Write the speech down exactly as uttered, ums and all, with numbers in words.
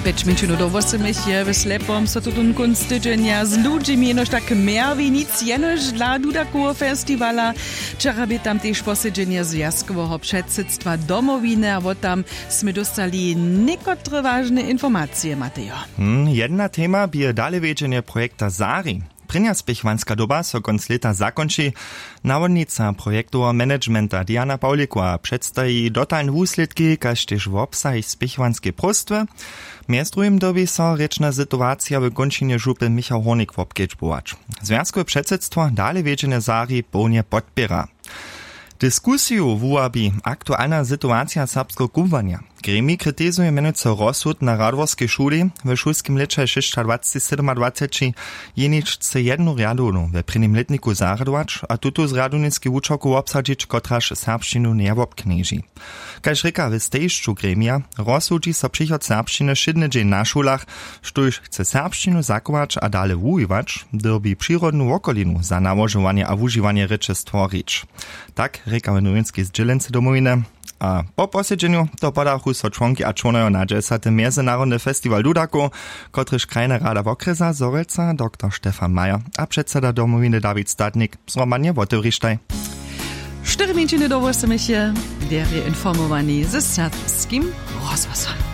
Pjeć minčinu do wosomich je w slepom so tutón kónc tydźenja z ludźimi jenož tak mjerwi nic jenož dla dudakoweho festiwala. Wčera bě tam tež posedźenje zwjazkoweho předsydstwa Domowiny a wot tam smy dóstali někotre wažne informacije matejo. Hm, jedna tema bě dalewjedźenje projekta sari. Prěnja spěchwanska doba so kónc lěta zakónči. Nawodnica projektoweho managementa diana pawlikowa předstaji dotalne wuslědki kaž tež wobsah spěchwanskej próstwy. Mjez druhim dyrbi so rěčna situacija w kónčinje župy michał hórnik wobkedźbować. Zwjazkowe předsydstwo dalewjedźenje sari połnje podpěra. Diskusiju wuwabi aktualna situacija serbskeho kubłanja. Gremij kritizuje mjenujcy rozsud na radworskej šuli. W šulskim lěće šěsćadwaceći sydomadwaceći jeničce jednu rjadownu we prěnim lětniku zarjadować a tutu z rjadowniskej wučerku wobsadźić kotraž serbšćinu njewobknježi. Kaž rěka w stejišću gremija, rozsudźi so přichod serbšćiny wšědny dźeń na šulach, štóž chce serbšćinu zachować a dale wuwiwać, dyrbi přirodnu wokolinu za nałožowanje a wužiwanje rěče stworić. Tak rěka w nowinskej zdźělency Domowiny. A po posedźenju to podachu so čłonki a čłonojo na dźesaty mjezynarodny festiwal dudakow, kotryž krajna rada wokrjesa zhorjelca dr stefan majer a předseda Domowiny dawid statnik zhromadnje wotewrištaj. Štyri minčiny do wosomich je derje informowani ze serbskim rozhłosom.